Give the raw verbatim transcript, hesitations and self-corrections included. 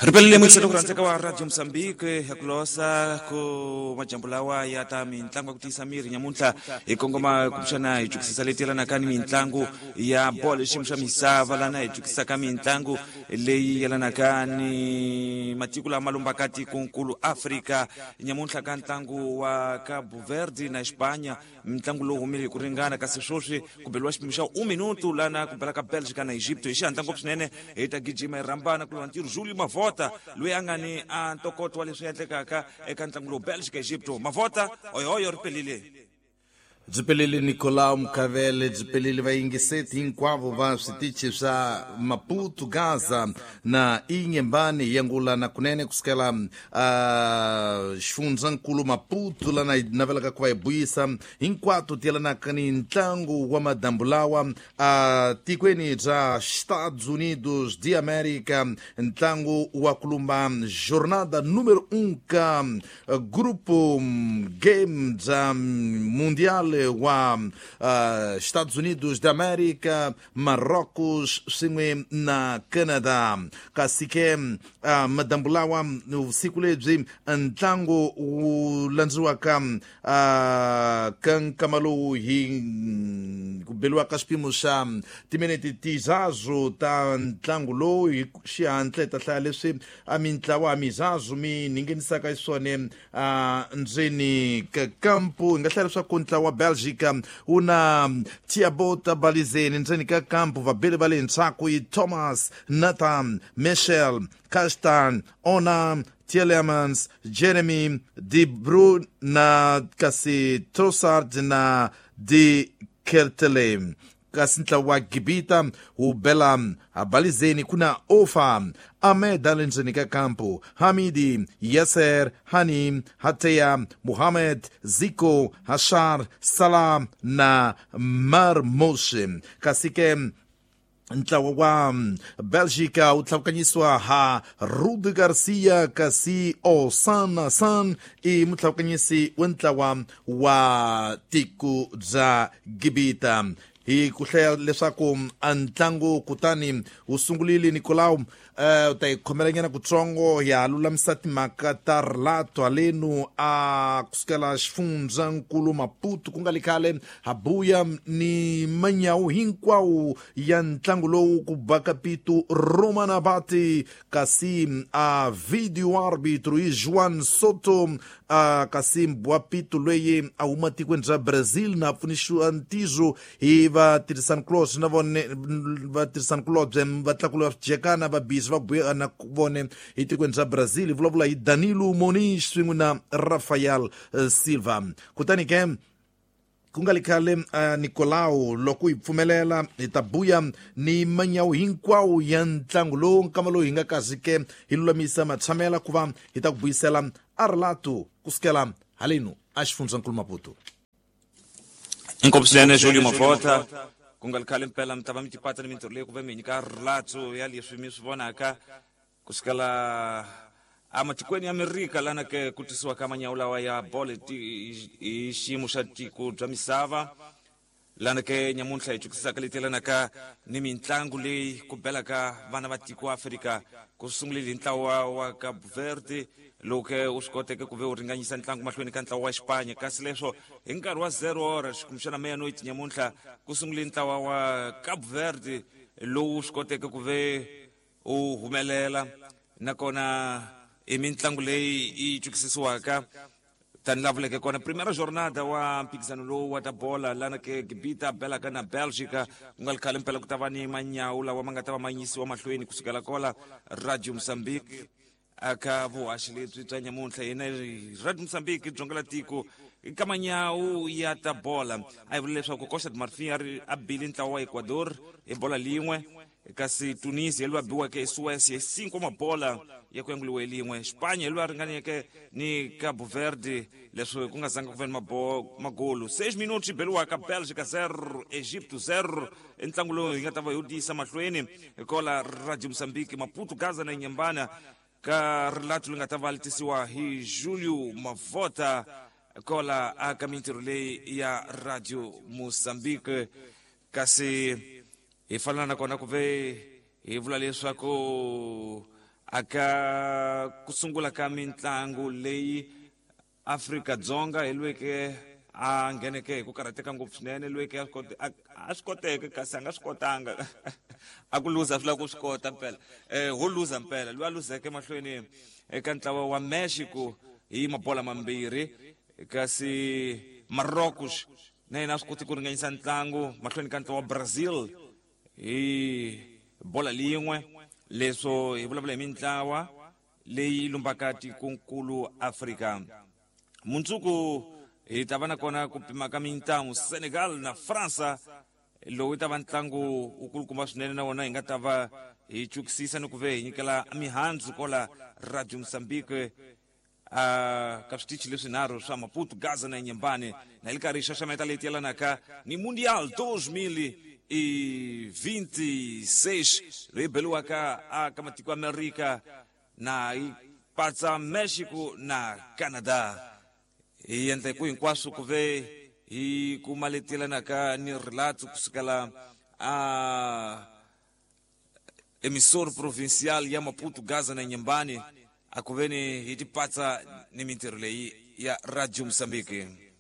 Ripelele muyingiseri ku rhandzeka wa Radio Mozambique ya ku losa ku majambu lawa ya ta mintlangu ya ku tiyisa miri nyamuntlha hi kongoma kumbexana hi jukisisa leti yelanaka ni mitlangu ya bolo xiyimo xa misava lana hi jukisaka mitlangu leyi yelanaka ni matiko lama lombaka tikonkulu Afrika nyamuntlha ka ntlangu wa Cabo Verde na Espanha ntlangu lowu humile hi ku ringana kasi sweswi ku beliwa xipimo xa un minuto lana ku bela ka Belgica na Egypto hi xihatla ngopfu swinene hi ta gijima hi rhambana ku lwa ntirho Julio Mavota loyi a nga ni a ntokoto wa leswi endlekaka eka ntlangu lowu Belgica Egypto Mavota oyoyo ri pelile. Byi pelile Nicolau Mukavele, byi pelile vayingiseti hinkwavo va switichi swa Maputo, Gaza na Inhambane yangulana kunene kusukela uh, xifundzankulu Maputo lana hi navelaka ku va hi buyisa hinkwato ti yelanaka ni ntlangu wa madambu lawa uh, tikweni bya Estados Unidos de América, ntlangu wa kulumba jornada número um ka grupo game bya mundial wa uh, Estados Unidos da América, Marrocos swin'we na Canada. Kasi ke uh, madambu lawa vusiku lebyi ntlangu wu landziwaka uh, ka nkama lowu hi ku beliwaka xipimo xa timinete tizazu ta ntlangu lowu hi xihatla hi ta hlaya leswi a mintlawa mizazu mi ningenisaka xiswona uh, ndzeni ka kampu. Hi nga hlaya leswaku ntlawa wa Belgica wu na Thiago Balizeni ndzeni ka kampu, vabeli va le ndzhaku i Thomas, Nathan, Michel, Castan, Ona, Tielemans, Jeremy, De Bruyne na kasi Trossard na De Ketelaere. Kasi ntlawa wa Gibita wu bela Balizeni ku na Ofa, Ahmed ale ndzeni ka kampu, Hamidi, Yasser, Hani, Hateya, Muhammad, Ziko, Hashar, Salah na Marmoush. Kasi ke ntlawa wa Belgica wu tlhavukanyisiwa ha Rudi Garcia, kasi Osana San i mutlhavukanyisi wa ntlawa wa tiko bya Gibita. Hi ku hlaya leswaku a ntlangu kutani wu sungurile Nicolau, uh, u ta hi khomelanyana kutsongo ya lulamisa timhaka ta rilato halenu a kusukela xifundzankulu Maputo ku nga li khale habuya ni manyawu hinkwawo ya ntlangu lowu ku baka pito Roman Abati, kasi a video arbitro i Juan Soto, a kasi mbwa pito loyi a huma tikweni bya Brazil na pfunisiwa ntizo hi vatirhisani kulobye na vone vatirhisani kulobye va tlakula va jekana va bizi va buya na vone hi tikweni bya Brazil. Hi vulavula hi Danilo Moniz swin'we na Rafael Silva. Kutani ke ku nga li khale uh, Nicolau loko hi pfumelela hi ta buya ni manyawu hinkwawo ya ntlangu lowu nkama lowu hi nga kazi ke hi lulamisa matshamela ku va hi ta ku buyisela a rilato kusukela halenu a xifundzankulu Maputo. Inkomu swinene Julio Mavota ku nga li khale mpela mi ta va mi tipata ni mintirho leyi ku ve mi nyika rilatso ya leswi mi swi vonaka kusukela amatikweni ya Amerika lana ke ku tisiwa ka manyawu lawa ya bolo hi xiyimo xa tiko bya misava lana ke nyamuntlha hi jukisisaka leti yelanaka ni mitlangu leyi ku belaka vana va tiko Afrika ku sungulile hi ntlawa wa Cabo Verde lowu ke u swi koteke ku ve u ringanyisa ntlangu mahlweni ka ntlawa wa Espanya kasi leswo hi nkarhi wa zero hora xikumbexana meya-noite nyamuntlha ku sungule ntlawa wa Cabo Verde lowu swi koteke ku ve u humelela nakona i mitlangu leyi yi twisisiwaka tani la vuleke kona primera jornada wa mphikizano lowu wa ta bola lana ke Gibita belaka na Belgica ku nga li khale mpela ku ta va ni manyawu lawa ma nga ta va ma yisiwa mahlweni kusukela kola Radio Mozambique aka vuhaxi lebyi bya nyamuntlha hina Radio Mozambique dzonga la tiko ka manyawu ya ta bola a hi vula leswaku Costa de Marfin a ri a bile ntlawa wa Ecuador hi bola lin'we kasi Tunisia loyi a biweke hi Suecia hi cinco mabola ya ku yanguliwe lin'we Spanya loyi a ringaneke ni Cabo Verde leswi ku nga zanga ku ve ni magolu seis minutos yi beliwaka Belgica zero Egypto zero i ntlangu lowu hi nga ta va hi wu tiyisa mahlweni kola Radio Mozambique Maputo Gaza na Inhambane ka rilato leri nga ta va li tisiwa hi Julio Mavota kola aka mintirho leyi ya Radio Mozambique kasi hi fanela nakona ku ve hi vula leswaku Aka ku sungula ka mintlangu leyi Afrika Dzonga hi lweke a ngheneke hi ku karhateka ngopfu swinene, lweke a swi a swi koteke kasi a nga swi kotanga. A ku luza swi lava ku swi kota mpela, eh ho luza mpela loyi a luzeke mahlweni eka ntlawa wa Mexico hi mabola mambirhi, kasi Marocos na yena a swi koti ku ringanyisa ntlangu mahlweni ka ntlawa wa Brazil hi bola lin'we. Leswo hi vulavula hi mintlawa leyi lumbaka tikonkulu Afrika. Mundzuku hi ta va na kona ku pima ka mintamu Senegal na Fransa, lowu ta va ntlangu wu kulukumba swinene, na wona hi nga ta va hi chukisisa ni ku ve hi nyikela mihandzu kola Radio Mozambique a ka switichi leswinharhu swa Maputo, Gaza na Inhambane, na hi li karhi hi xaxameta leyi yelanaka ni Mundial dois mil e vinte e seis leyi beliwaka a ka matiko Amerika na yi patsa Mexico na Canada. Hi endla ku hinkwaswo ku ve hi kuma leti yelanaka ni rilatso kusukela a emissor provincial ya Maputo, Gaza na Inhambane, a ku veni hi tipatsa ni mintirho leyi ya Radio Mozambique.